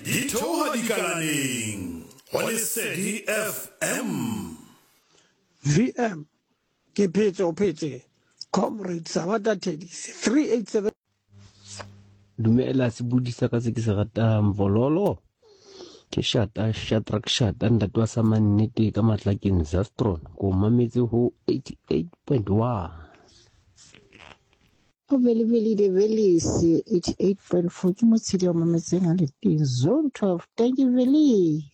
Di theoha dikalaneng go Lesedi FM. VM, Ke phetse o phetse Comrade Sabata Thekisi 387. Dumela sebudi sa ka se ke se ratang vololo ke shata shadrack shata ntate wa sa mannete ka matlakeng zastron ko mametse ho 88.1. Go Belebele de Belise 88.4 ke motshedi wa mametseng a le teng zone 12. Thank you Veli.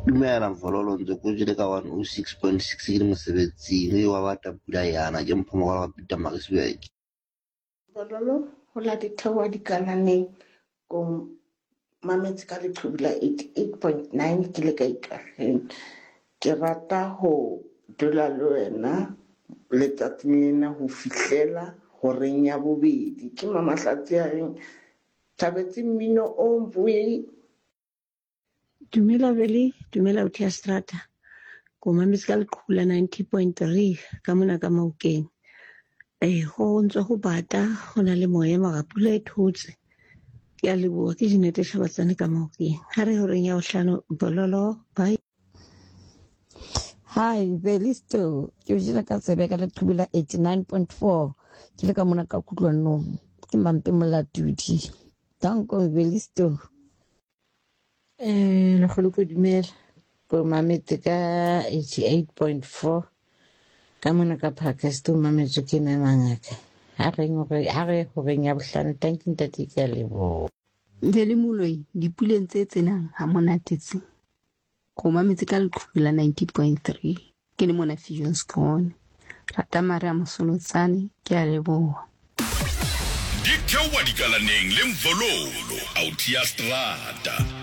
Dumela Mfololo ntse ko jele ka 106.6 ke le mosebetsing e wa bata pula yana ke mpho mogala wa Peter Maritzburg. Bololo ho la ditheoha dikalaneng ko mametse ka leqhubu la 88.9 ke le ka ikageng. Ke rata ho dula le wena letsatsing lena ho fihlela horeng ya bobedi. Ke Mamahlatsi a reng thabetse mmino o mboe. Dumela Veli, dumela Uthi ya Strata. Ko mametse ka leqhubu la 90.3 ka mona ka Maokeng. Eh, go ntse go bata, go na le moya mara pula e thotse. Ke a leboha ke Jeanette Hlabatsane ka Maokeng. Ha re horeng ya bohlano bololo bye. Hi, Belisto. Ke o jela ka tsebe ka leqhubu la 89.4. Ke le ka mona ka kutlwanong. Ke Mampe Molatudi. Danko Belisto. Eh, lekgolo ko dumela ko mametse ka 88.4 ka mona ka Parkhurst o mametswe ke mme mangaka ha reng hore ha re horeng ya bohlano thank you ntate ke a leboha. Vele Moloi dipuleng tse tsenang ha monate tse. Ko mametse ka leqhubu la 90.3 ke le mona Viljoenskroon. Rata mare a Mosolotsane ke a leboha. Di theoha dikalaneng le Mvololo, Autia Strata.